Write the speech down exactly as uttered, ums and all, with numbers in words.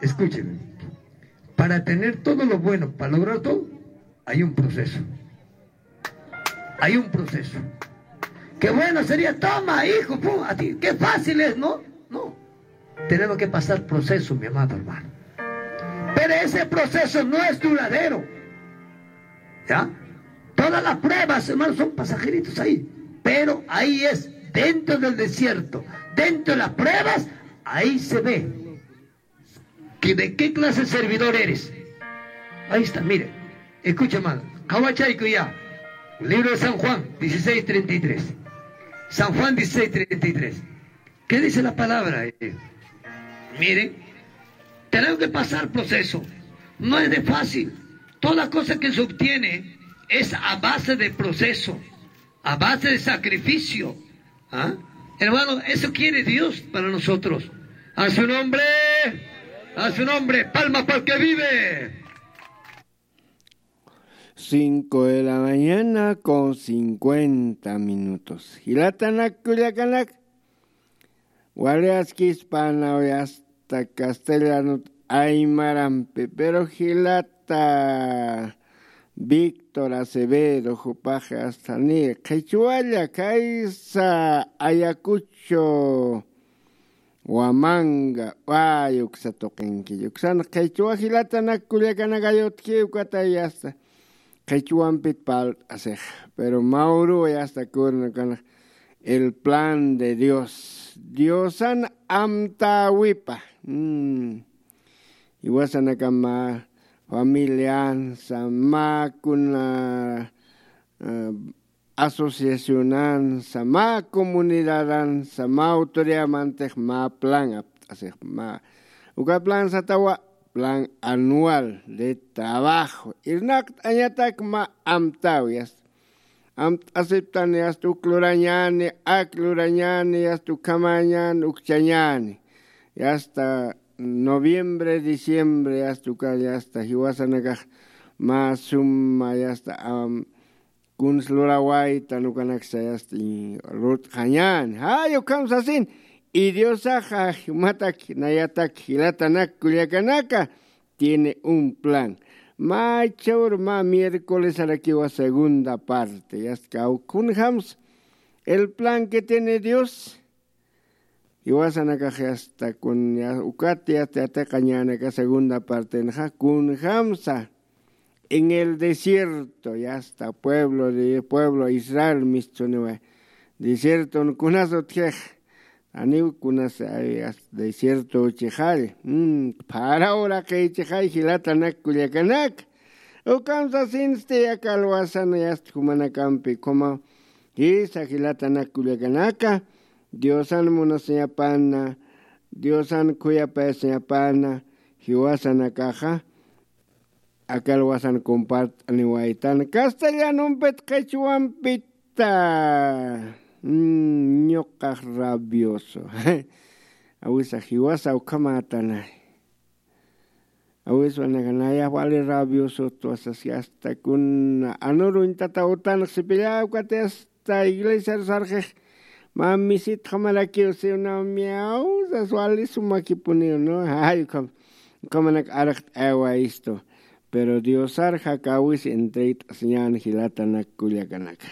Escúcheme. Para tener todo lo bueno, para lograr todo, hay un proceso. Hay un proceso. Qué bueno sería, toma, hijo, pum, así, qué fácil es, ¿no? No. Tenemos que pasar proceso, mi amado hermano. Pero ese proceso no es duradero. ¿Ya? Todas las pruebas, hermanos, son pasajeritos ahí. Pero ahí es, dentro del desierto, dentro de las pruebas, ahí se ve que de qué clase de servidor eres. Ahí está, mire. Escucha, hermano. Qhawachayku ya. Libro de San Juan dieciséis treinta y tres. San Juan dieciséis treinta y tres. ¿Qué dice la palabra? Eh, miren, tenemos que pasar proceso. No es de fácil. Toda cosa que se obtiene es a base de proceso, a base de sacrificio. ¿Ah? Hermano, eso quiere Dios para nosotros. A su nombre, a su nombre, palma para el que vive. Cinco de la mañana con cincuenta minutos. Jilatanak kullakanak. Wali askispänaw hasta castellanot aymarampi, pero jilata Víctor Acevedo, jupax hasta ni qhichwalla kaysa Ayacucho Huamanga, ay, uksa tuqinki, uksan qhichwa jilatanak kullakanak ayutki, ukatay hasta qhichwampit parlt'asix, pero mä uruw hasta kuna kanax el plan de Dios. Diosan amtäwipa. Mm. Jiwasanakama familiansa, mä kuna, eh, asociacionansa, mä comunidadansa, mä autoridadmantix mä plan apt'asix, mä uka plan satawa plan anual de trabajo. Irnaqt'añatak mä amtäwi, hasta amt'asiptani, hasta uk lurañäni, ak lurañäni, hasta ukhamäñäni, ukchañäni. Y hasta noviembre, diciembre, hasta uka, y hasta jiwasanakax mä suma, y hasta, am, kuns lurawaytan ukanaksa, y hasta, y lurt'xañäni. Jay, ukham sasin, y Diosaxa jumatak, nayatak, jilatanak kullakanaka, tiene un plan. Mä chhawr mä miércolesarakiwa segunda parte. Yasta, kunjams el plan que tiene Dios. Jiwasanakax yasta kun, ya, ukat yasta yatiqañänaka segunda partenxa, kunjamsa en el desierto, yasta pueblo de, pueblo Israel mistsuniwa. Desierton kunas utjix, aniw kunas, ay, as-, desierto uchixall. Mm, phara uraqïchixay jilatanak kullakanaka. Ukham sasinsti aka alwasan yasta jumanakampi, ukhama jisa jilatanak kullakanaka, Diosan munasiñapana, Diosan khuyapayasiñapana, jiwasanakaxa, aka alwasan compart'aniwaytan. Castellanompit, qhichwampita. Mm, ñuqax rabioso. Awisa, jiwasa ukhamätanay. Awiswanaka nayax wali rabioso tuwasas, hasta kuna anuruñ tata utanx sipilla, ukat hasta iglesiar sarxix mä misitxamarakiw siwna miaw sas wali sumakipuniw, ¿no? Ay, ukham, ukhamanak arxt'ayawayistu. Pero Diosar jakawis entregt'asiñän jilatanak kullakanaka.